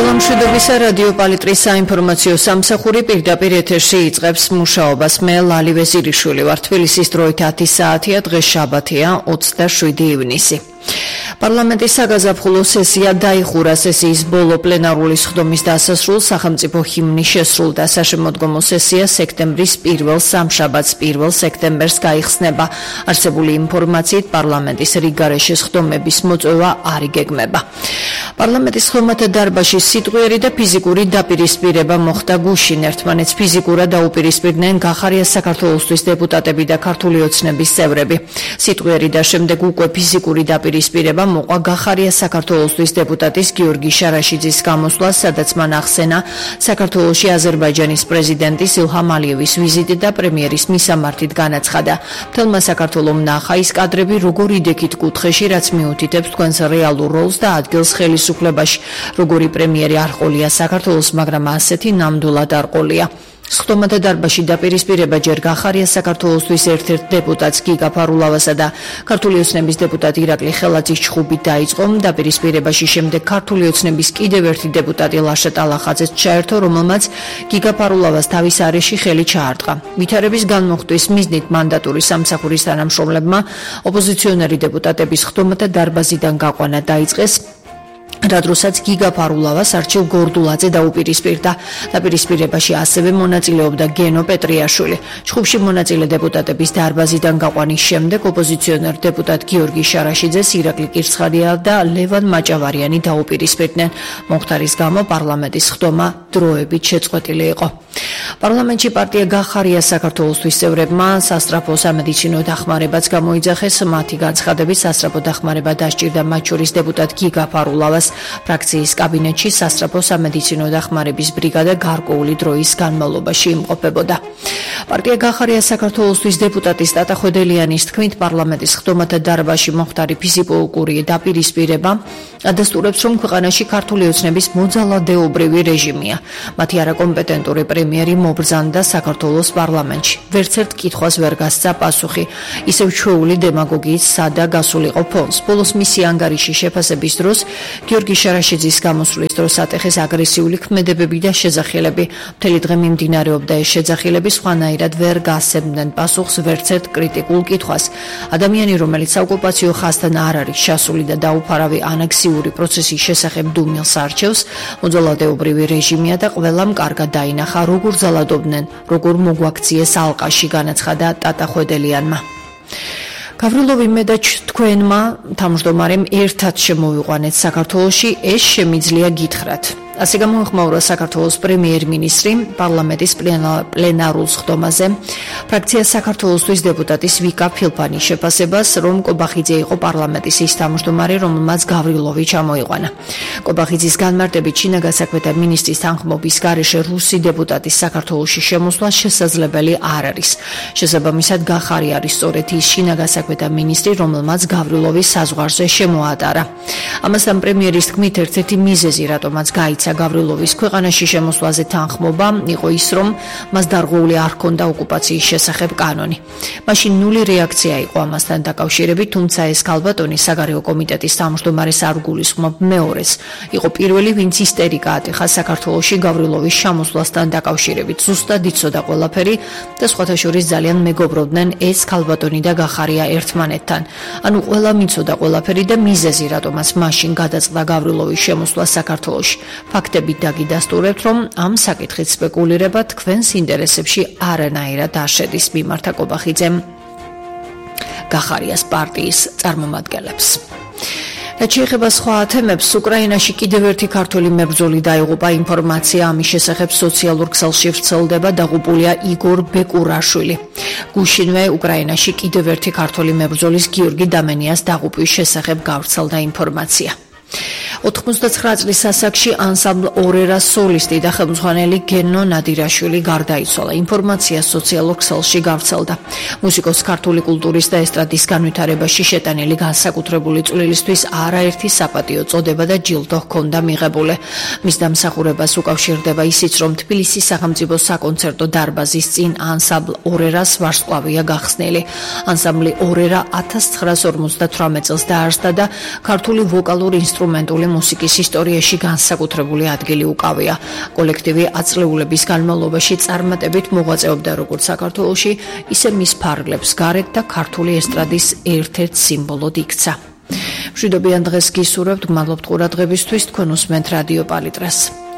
მშვიდობისა რადიო პალიტრის საინფორმაციო სამსახური პირდაპირ ეთერში იწყებს მუშაობას. მე ლალი ვეზირიშვილი ვარ. თბილისის დროით 10 საათია, დღეს შაბათია, 27 ივნისი. პარლამენტის საგაზაფხულო სესია დაიხურა. სესიის ბოლო პლენარული სხდომის დასასრულს სახელმწიფო ჰიმნი შესრულდა. საშემოდგომო სესია სექტემბრის პირველ სამშაბათს 1 სექტემბერს გაიხსნება. არსებული ინფორმაციით პარლამენტის რიგგარეშე სხდომების მოწვევა არ იგეგმება. პარლამენტის ხომათა დარბაზში სიტყვიერი და ფიზიკური დაპირისპირება მოხდა გუშინ. ერთმანეთს ფიზიკურად დაუპირისპირდნენ გახარია საქართველოსთვის დეპუტატები და ქართული ოცნების წევრები. სიტყვიერი და შემდეგ უკვე ფიზიკური დაპირისპირება მოყვა გახარია საქართველოსთვის დეპუტატის გიორგი შარაშიძის გამოსვლას, სადაც მან ახსენა საქართველოში აზერბაიჯანის პრეზიდენტის ილჰამ ალიევის ვიზიტი და პრემიერის მისამართით განაცხადა. მთელმა საქართველომ ნახა ის კადრები, როგორ იდექით კუთხეში, რაც მიუთითებს თქვენს რეალურ როლს და ადგილს ხელისუფლებაში. როგორი პრემიერი არ ყოლია საქართველოს, მაგრამ ასეთი ნამდვილად არ ყოლია. სხდომათა დარბაზში დაპირისპირება ჯერ გახარია საქართველოსთვის ერთ-ერთ დეპუტატს გიგა ფარულავასა და ქართული ოცნების დეპუტატ ირაკლი ხელაძის ჩხუბით დაიწყო. დაპირისპირებაში შემდეგ ქართული ოცნების კიდევ ერთი დეპუტატი ლაშა ტალახაძეც ჩაერთო, რომელმაც გიგა ფარულავას თავის არეში ხელი ჩაარტყა. ვითარების განმოხტვის მიზნით მანდატური სამსახურის თანამშრომლებმა ოპოზიციონერი დეპუტატების სხდომათა დარბაზიდან გაყვანა დაიწყეს, რადროსაც გიგა ფარულავას არჩილ გორდულაძე დაუპირისპირდა. დაპირისპირებაში ასევე მონაწილეობდა გენო პეტრიაშვილი. ჩხუბში მონაწილე დეპუტატების დარბაზიდან გაყვანის შემდეგ ოპოზიციონერ დეპუტატ გიორგი შარაშიძეს ირაკლი კირცხარია და ლევან მაჭავარიანი დაუპირისპირდნენ. მომხდარის გამო პარლამენტის სხდომა დროებით შეწყვეტილი იყო. პარლამენტში პარტია გახარია საქართველოსთვის წევრებმა სასწრაფო სამედიცინო დახმარებაც გამოიძახეს. მათი განცხადებით სასწრაფო დახმარება დასჭირდა მათ შორის დეპუტატ გიგა ფარულავას. ფრაქციის კაბინეტში სასწრაფო სამედიცინო დახმარების ბრიგადა გარკვეული დროის განმავლობაში იმყოფებოდა. პარტია გახარია საქართველოსთვის დეპუტატის ტატა ხვედელიანის თქმით, პარლამენტის სხდომათა დარბაზში მომხდარი ფიზიკური დაპირისპირება ადასტურებს, რომ ქვეყანაში ქართული ოცნების მოძალადეობრივი რეჟიმია. მათი არაკომპეტენტური პრემიერი მობრძანდა საქართველოს პარლამენტში. ვერც ერთ კითხვას ვერ გასცა პასუხი. ისევ ჩვეული დემაგოგიით სადა გასულიყო ფონს. ბოლოს მისი ანგარიში შეფასების დროს გიორგი შარაშიძის გამოსვლის დროს ატეხეს აგრესიული ქმედებები და შეძახილები. მთელი დღე მიმდინარეობდა ეს შეძახილები, სხვანაირად ვერ გასცემდნენ პასუხს ვერც ერთ კრიტიკულ კითხვას. ადამიანი, რომელიც საოკუპაციო ხაზთან არ არის ჩასული და დაუფარავი ანექსიური პროცესის შესახებ დუმილს არჩევს, მოძალადეობრივი რეჟიმია და ყველამ კარგად დაინახა, როგორ ძალადობდნენ, როგორ მოგვაქციეს ალყაში, განაცხადა ტატა ხვედელიანმა. გავრილოვი მე და თქვენმა თავმჯდომარემ ერთად შემოვიყვანეთ საქართველოში, ეს შემიძლია გითხრათ. ასე გამოეხმაურა საქართველოს პრემიერ-მინისტრი პარლამენტის პლენარულ სხდომაზე ფრაქცია საქართველოსთვის დეპუტატის ვიკა ფილფანის შეფასებას, რომ კობახიძე იყო პარლამენტის ის თავმჯდომარე, რომელმაც გავრილოვი ჩამოიყვანა. კობახიძის განმარტებით, შინაგან საქმეთა მინისტრის თანხმობის გარეშე რუსი დეპუტატის საქართველოში შემოსვლა შესაძლებელი არ არის. შესაბამისად, გახარი არის სწორედ ის შინაგან საქმეთა მინისტრი, რომელმაც გავრილოვის საზღვარზე შემოატარა. ამასთან პრემიერის თქმით, ერთ-ერთი მიზეზი, რატომაც გაიცა გავრილოვის ქვეყანაში შემოსვლაზე თანხმობა, იყო ის, რომ მას დარღვეული არ ჰქონდა ოკუპაციის შესახებ კანონი. მაშინ ნული რეაქცია იყო ამასთან დაკავშირებით, თუმცა ეს ქალბატონი საგარეო კომიტეტის თავმჯდომარეს არ გულისხმობ მეორეს. იყო პირველი, ვინც ისტერიკა ატეხა საქართველოში გავრილოვის შემოსვლასთან დაკავშირებით. ზუსტად იცოდა ყველაფერი და სხვათა შორის ძალიან მეგობრობდნენ ეს ქალბატონი და გახარია ერთმანეთთან. ანუ ყველა მიცოდა ყველაფერი და მიზეზი, რატომაც მაშინ გადაწყდა გავრილოვის შემოსვლა საქართველოში. ფაქტებით დაგიდასტურებთ, რომ ამ საკითხით სპეკულირება თქვენს ინტერესებში არანაირად არ შედის, მიმართა კობახიძემ გახარიას პარტიის წარმომადგენლებს. რაც შეეხება სხვა თემებს, უკრაინაში კიდევ ერთი ქართველი მებრძოლი დაიღუპა. ინფორმაცია ამის შესახებ სოციალურ ქსელში ვრცელდება, დაღუპულია იგორ ბეკურაშვილი. გუშინვე უკრაინაში კიდევ ერთი ქართველი მებრძოლის გიორგი დამენიას დაღუპვის შესახებ გავრცელდა ინფორმაცია. 99 წლის ასაკში ანსამბლ ორერას სოლისტი და ხელმძღვანელი გენო ნადირაშვილი გარდაიცვალა. ინფორმაცია სოციალურ ქსელში გავრცელდა. მუსიკოს ქართული კულტურის და ესტრადის განვითარებაში შეტანილი განსაკუთრებული წვლილისთვის არაერთი საპატიო წოდება და ჯილდო ჰქონდა მიღებული. მის დამსახურებას უკავშირდება ისიც, რომ თბილისის სახელმწიფო საკონცერტო დარბაზის წინ ანსამბლ ორერას ვარსკვლავია გახსნილი. ანსამბლი ორერა 1958 წელს დაარსდა და ქართული ვოკალურ ინსტრუმენტული მუსიკა მუსიკის ისტორიაში განსაკუთრებული ადგილი უკავია. კოლექტივი აწლეულების განმავლობაში წარმატებით მოღვაწეობდა როგორც საქართველოში, ისე მის ფარგლებს გარეთ და ქართული ესტრადის ერთ-ერთ სიმბოლოდ იქცა. მშვიდობიან დღეს გისურვებთ, გმადლობთ ყურადღებისთვის, თქვენ უსმენთ რადიო პალიტრას.